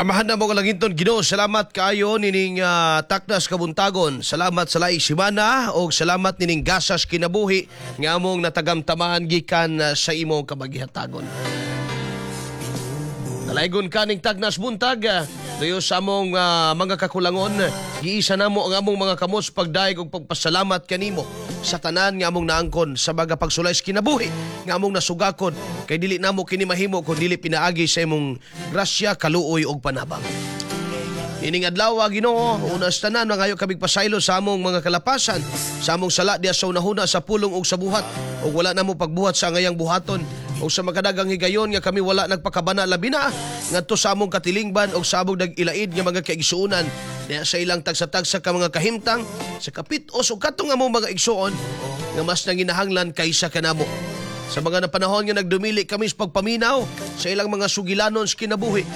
Amahan namo nga langiton Ginoo, salamat kaayo nining taknas kabuntagon. Salamat sa laing simana og salamat nining gasas kinabuhi nga among natagamtaman gikan sa imong kamagihatagon. Dalaygon kaning tagnas buntag, dayo sa among mga kakulangon, giisa namo ang among mga kamot sa pagdayeg og pagpasalamat kanimo sa tanan nga among naangkon sa mga pagsulay sa kinabuhi nga among nasugakon, kay dili namo kini mahimo kun dili pinaagi sa imong grasya, kaluoy og panabang. Ining adlaw, Ginoo, una sa tanan mangayo kamig pasaylo sa among mga kalapasan, sa among sala diya sa unahuna, sa pulong ug sa buhat, ug wala namo pagbuhat sa angayang buhaton, ug sa makadagang higayon nga kami wala nagpakabana, labi na ngadto sa among katilingban ug sa among nag-ilaid nga mga kaigsuonan diya sa ilang tagsa-tagsa ka mga kahimtang sa kapitos ug katong among mga igsuon nga mas nanginahanglan kaysa kanamo. Sa mga napanahon nga nagdumili kami sa pagpaminaw sa ilang mga sugilanon sa kinabuhi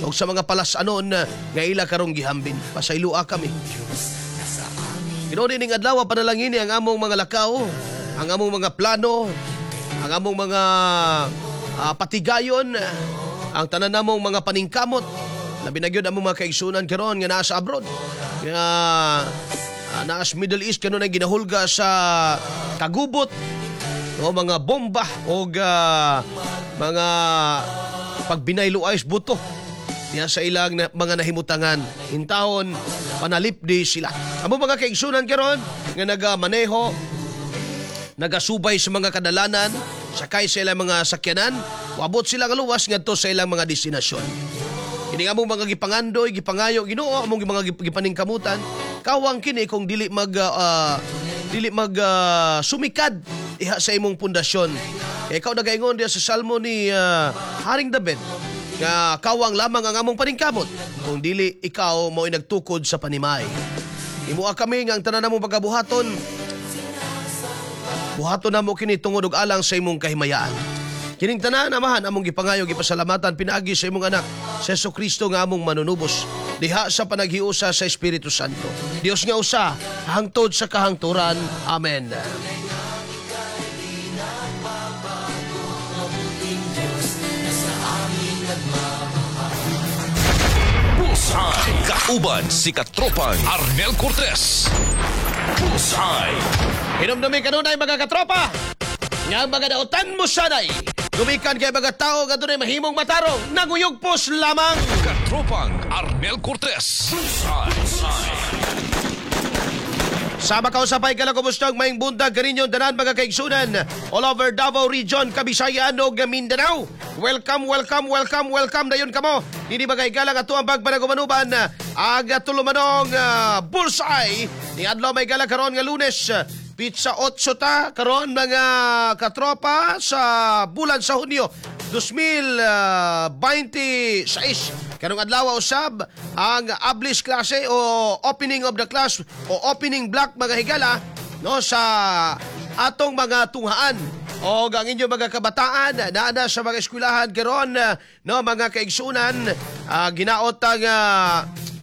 ug sa mga palasanon nga ila karong gihambin, pasayloa kami. Ginoo, ning adlaw panalangini ang among mga lakaw, ang among mga plano, ang among mga patigayon, ang tanan namong mga paningkamot. Labi na gyud among mga kaigsunan karon nga naa sa abroad, nga naa sa Middle East kanunay ginahulga sa kagubot o mga bomba o mga pagbinayloay sa buto diya sa ilang mga nahimutangan. Intawon panalipdi sila. Amo mga kaigsunan karon nga nagamaneho, nagasubay sa mga kadalanan, sakay sa ilang mga sakyanan, wabot sila nga luwas ngadto sa ilang mga destinasyon. Kini among mga gipangandoy, gipangayo, Ginoo, among mga gipaningkamutan, kawang kini kung dili mag sumikad iha sa imong pundasyon. Kay ikaw nagaingon diya sa Salmo ni Haring David nga kawang lamang ang among paningkamot kung dili ikaw mo'y nagtukod sa panimay. Himoa kami nga ang tanan namong pagabuhaton, buhaton namo kini tungod og alang sa imong kahimayaan. Kining tanan, Amahan, among gipangayo, gipasalamatan pinaagi sa imong anak, sa Hesus Kristo nga among manunubos, diha sa panaghiusa sa Espiritu Santo. Dios nga usa, hangtod sa kahangturan. Amen. Bullseye. Kauban si Katropang Arnel Cortez. Bullseye. Hinumdumi kanunay, mga katropa, nga ang mga dautan mo sanay gumikan kay mga tao nga dunay mahimong matarong, nanguyugpos lamang. Katropang Arnel Cortez. Bullseye. Sama kausapay ka lang, kumusta ang maayong buntag kaninyong tanan, mga kaigsunan, all over Davao Region, Kabisayaan ug Mindanao. Welcome, welcome, welcome, welcome dayon kamo. Dini mga igalang ato ang pagpanagumanuban ag tulumanong Bullseye. Ni adlaw may gala karon nga Lunes. Petsa 8 ta karon, mga katropa, sa bulan sa Hunyo 2026. Karong adlaw usab ang ablis klase o opening of the class o opening block, mga higala, no, sa atong mga tunghaan o ang inyong mga kabataan naa na sa mga eskwelahan karon, no, mga kaigsunan, ginaot ang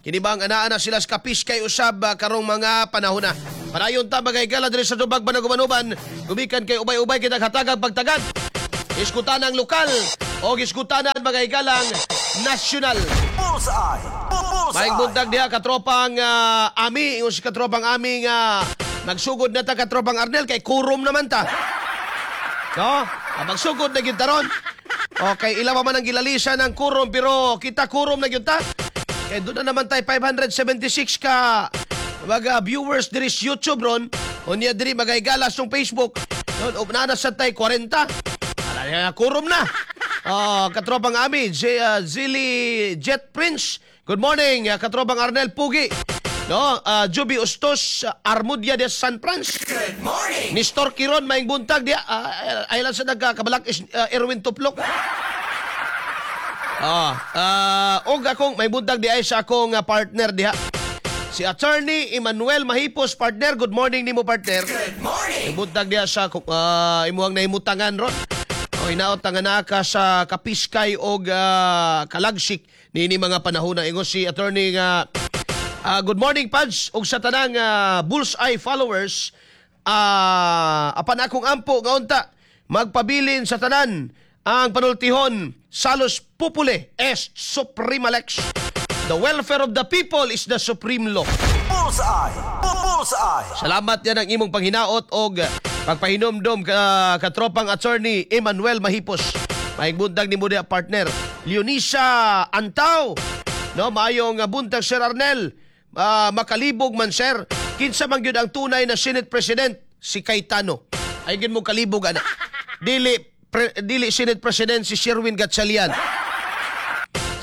kini bang anaa na sila sa kapiskay usab karong mga panahon na. Padayon ta, mga higala, diri sa tubag panagumanuban gumikan kay ubay-ubay kita hatagag pagtagad. Iskutan ang lokal o iskutanan, mga higalang, national. Bullseye! Bullseye! Maayong buntag diha, katropang Ami, ingon si katropang Ami nga magsugod na ta, katropang Arnel, kay kurum naman ta. No? Magsugod na gyud ta ron. Okay, ila pa man ang gilalisan ng kurum pero kita kurum na gyud ta. Kay doon na naman tayo 576 ka mga viewers diri sa YouTube ron. Unya diri mga higala sa Facebook. Ron up na sa tay 40. Ala, kurum na. Oh, katropang Ami, Zili Jet Prince. Good morning, katropang Arnel Pugi. No, Juby Ustos Armudia de San Franz. Good morning! Nestor Kiron, maayong buntag diya. Ay lang sa nagkabalak is Erwin Tuplok. Og akong may buntag di ay sa akong partner diha. Si Attorney Emmanuel Mahipos, partner. Good morning nimo, partner. Good morning! May buntag diha sa imuhang nahimutangan ron. O hinaot nga naa ka sa kapiskay og kalagsik niini mga panahon na. Ingon si attorney nga good morning, Pads, ug sa tanang Bullseye followers, apan akong ampo nga unta magpabilin sa tanan ang panultihon: Salus populi est suprema lex. The welfare of the people is the supreme law. Bullseye. Bullseye. Salamat yan ang imong panghinaot og pagpahinomdom ka, katropang Attorney Emmanuel Mahipos. Maayong buntag nimo diha, partner. Leonisa Antaw. No, maayong buntag, Sir Arnel. Makalibog man, sir. Kinsa man gyud ang tunay na Senate President? Si Cayetano. Ay gyud mo kalibog ana. Dili Senate President si Sherwin Gatchalian.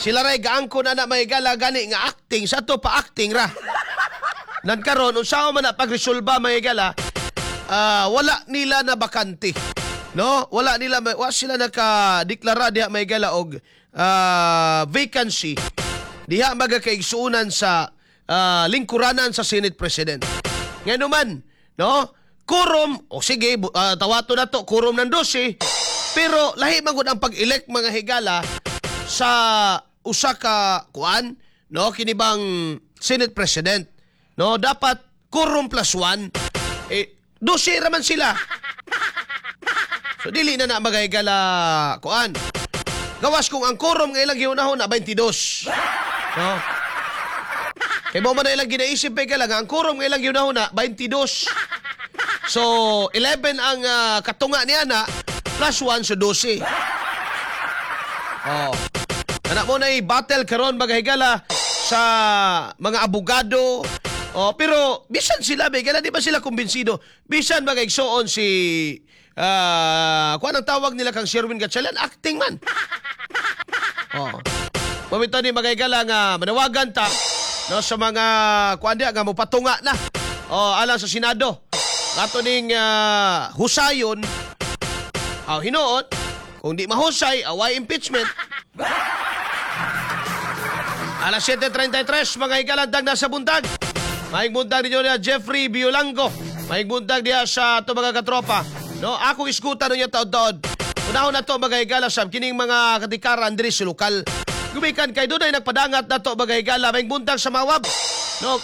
Sila ray gaangkon ana, mahigala, gani nga acting sa ato pa, acting ra. Nan karon unsa man na pagresolba, mahigala, wala nila na bakante. No? Wala nila, wa sila naka-deklara diha, mahigala, og vacancy diha magakaigsuonan sa lingkuranan sa Senate President. Ngano man, no? Quorum, o sige, tawato na to, quorum ng 12, pero lahi man gud ang pag-elect, mga higala, sa usa ka kuan, no, kini bang Senate President, no, dapat quorum plus 1, eh 12 ra man sila, so dili na na, mga higala, kuan, gawas kung ang quorum nga ilang gihunahon na 22, no, kay mo man na ilang ginaisip pa nga ang quorum nga ilang gihunahon na 22, so 11 ang katunga niya na plus 1, so 12. Oh. Anak mo na battle karon, mga higala, sa mga abogado. Oh, pero bisan sila, mga higala, di ba sila kumbinsido? Bisan mga igsoon si kuan, ang tawag nila kang Sherwin Gatchalian, acting man. Oh. Mamito ni, mga higala, nga manawagan ta, no, sa mga kuan diha nga mopatunga na. Oh, alang sa Senado. Ato ning husayon. Aw, hinuot, kung di mahusay, away impeachment. Alas 7:33, mga higalandang nasa buntag. Maayong buntag ninyo niya, Jeffrey Biolango. Maayong buntag diha sa ato mga katropa. No, ako iskutan niya taod-taod. Unahon na to, mga higala, sa kining mga katikaran diri sa lokal. Gumikan kay dunay nagpadangat na to, mga higala. Maayong buntag sa Mawab. No,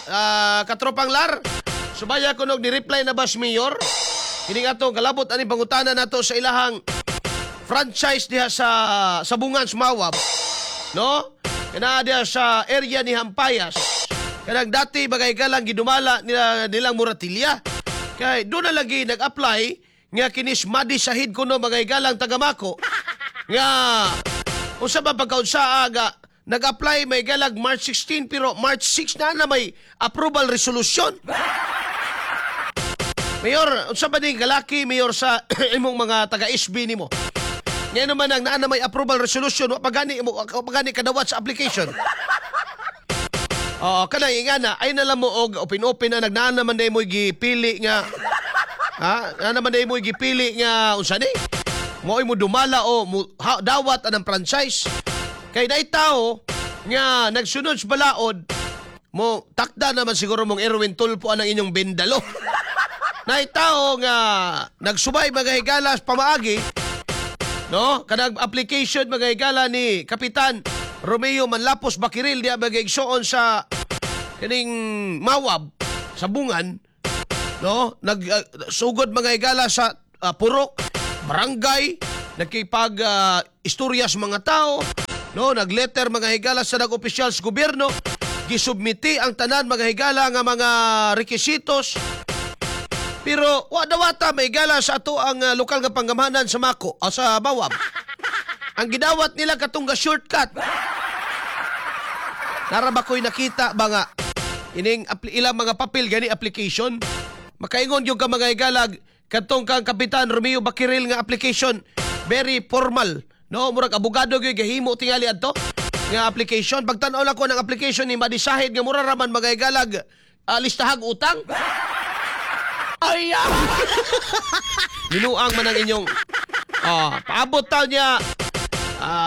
katropang Lar. Subaya ko nog ni-reply na bas mayor. Kining ato kalabot ani pangutana nato sa ilahang franchise diha sa Sabungan sa Mawab. No? Kana diha sa area ni Hampayas. Kanang dati bagay galang gidumala nila nilang Muratilya. Kay doon na lagi nag-apply nga kinis Madi Sahid kuno, mga galang, taga-Mako nga unsa ba pagkaunsa aga nag-apply may galag March 16 pero March 6 na na may approval resolution. Mayor, unsa ba din kalaki, mayor, sa imong mga taga-SB nimo? Ngayon naman ang naa na may approval resolution, wa pa gani kadawat sa application. Oo, kanang ingana, ay na lang mo og open-open na nagnaan naman day mo gipili nga ha, naa naman day mo gipili nga unsa ni? Mo mo dumala o mo, ha, dawat anang franchise. Kay naay tao nga nagsunod sa balaod mo, takda naman siguro mong Erwin Tulfo anang inyong bindalo. Naay tao nga nagsubay, mga higala, sa pamaagi, no, kanang application, mga higala, ni Kapitan Romeo Manlapos Bakiril diya, mga igsoon, sa kining Mawab sa Bungan, no, nag sugod, mga higala, sa purok, barangay, nakipag istorya sa mga tao, no, nagletter, mga higala, sa nag-opisyal sa gobyerno, gisubmiti ang tanan, mga higala, nga mga rekisitos. Pero wa dawata, may gala, sa ato ang lokal nga panggamhanan sa Mako o sa Mawab. Ang gidawat nila katong ga shortcut. Nara ba ko'y nakita ba nga ining ilang mga papel gani application? Makaingon yung ka, mga higalag, katong kang Kapitan Romeo Bakiril nga application, very formal. No, murag abogado gyud gahimo tingali adto nga application. Pagtan-aw lang ko ng application ni Madi Sahid nga mura raman, mga higalag, listahag utang. Ay, ah! Ginuang man ang inyong paabot taw niya.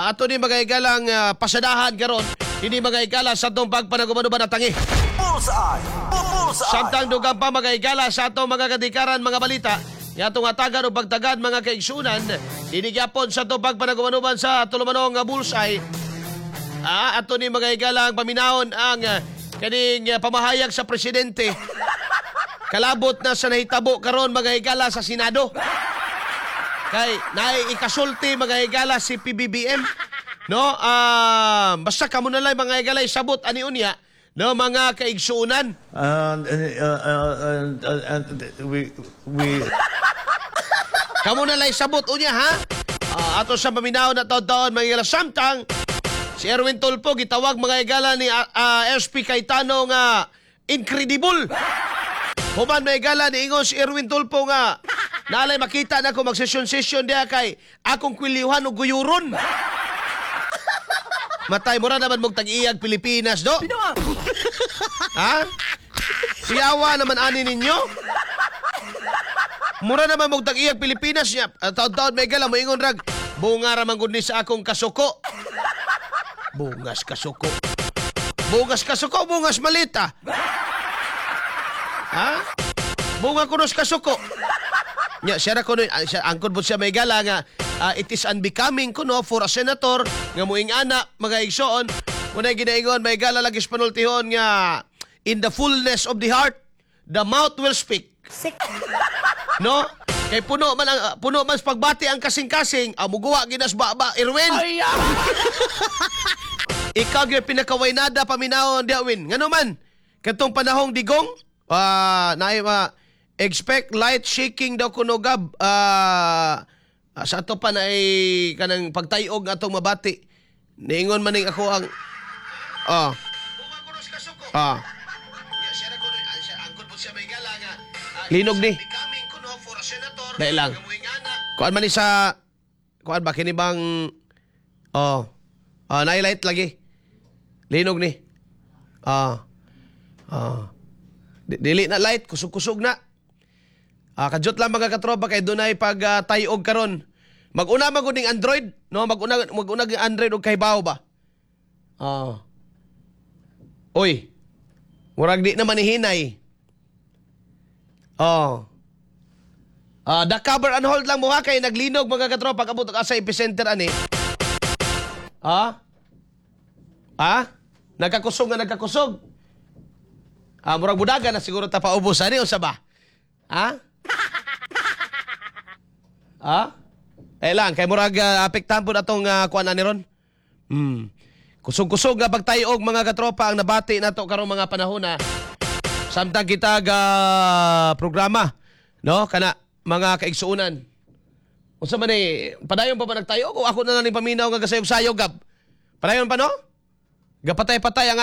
Ato ni, mga higalang, pasadahan karon ini, mga higala, sa atong pagpanagubanuban na tangi. Bullseye. Bullseye. Samtang dugang pa, mga higala, sa atong mga katikaran, mga balita nga atong atagan o pagtagad, mga kaigsunan, dinhi gyapon sa atong pagpanagubanuban sa tulumanong nga Bullseye. Ato ni, mga higala, ang paminahon ang kaning pamahayag sa presidente kalabot na sa nahitabo karon, mga higala, sa Senado. Kay naay ikasulti, mga higala, si PBBM. No, basta kamo na lang, mga higalay, sabot ani unya, no, mga kaigsuonan. And we Kamo na lang sabot unya, ha? Ato sa paminaw na taon-taon, mga higala, samtang si Erwin Tulfo gitawag, mga higala, ni SP Cayetano nga incredible. Human, mga higala, niingon si Erwin Tulfo nga nalay makita na ko mag-session-session diha kay akong kwilyuhan og guyuron. Matay, mura naman mong tag-iyag Pilipinas, do? Ha? Siyawa naman ani ninyo? Mura naman mong tag-iyag Pilipinas niya. Taon-taon may gala, moingon rag, bunga ra man gud ni sa akong kasuko. Bungas kasuko. Bungas kasuko, bungas malita. Ha? Bunga kunos kasuko. Nya, siya ra kuno, siya, angkod po siya may gala nga, it is unbecoming kuno for a senator nga muing ana, mga igsoon. Muna ginaingon, may gala lagi sa panultihon nga, in the fullness of the heart, the mouth will speak. No? Kay puno man sa pagbati ang kasing-kasing, muguwa ginas ba Erwin. Ikaw gyud pinakawaynada paminawon diha, Win. Ngano man katong panahong digong, naay expect light shaking daw kuno gab, sa ato pa na ay kanang pagtayog atong mabati. Niingon man ning ako ang linog ni. Dahil lang. Kuan man ni sa kuan ba kini bang oh. Nailight lagi. Linog ni. Dili na light, kusog-kusog na. Kadyot lang, mga katropa, kay dunay pag tayog karon. Mag-una man gud ning Android, no? Mag-una ang Android og kahibaw ba? Oy. Murag di naman ni hinay. Oh. The cover and hold lang mo ha kay naglinog, mga katropa, kabot ka sa epicenter ani. Ah? Ah? Nagkakusog nga nagkakusog. Murag budaga na siguro ta paubos ani unsa ba? Ha? Ha? Eh lang kay murag apektahan pud atong kuan ani ron. Kusog-kusog nga pagtayog, mga katropa, ang nabati nato karong mga panahon na samtang kita ga programa, no, kana, mga kaigsuonan. Unsa man ni padayon pa ba nagtayog o ako na lang ning paminaw nga gasayog-sayog gab? Padayon pa, no? Gapatay-patay ang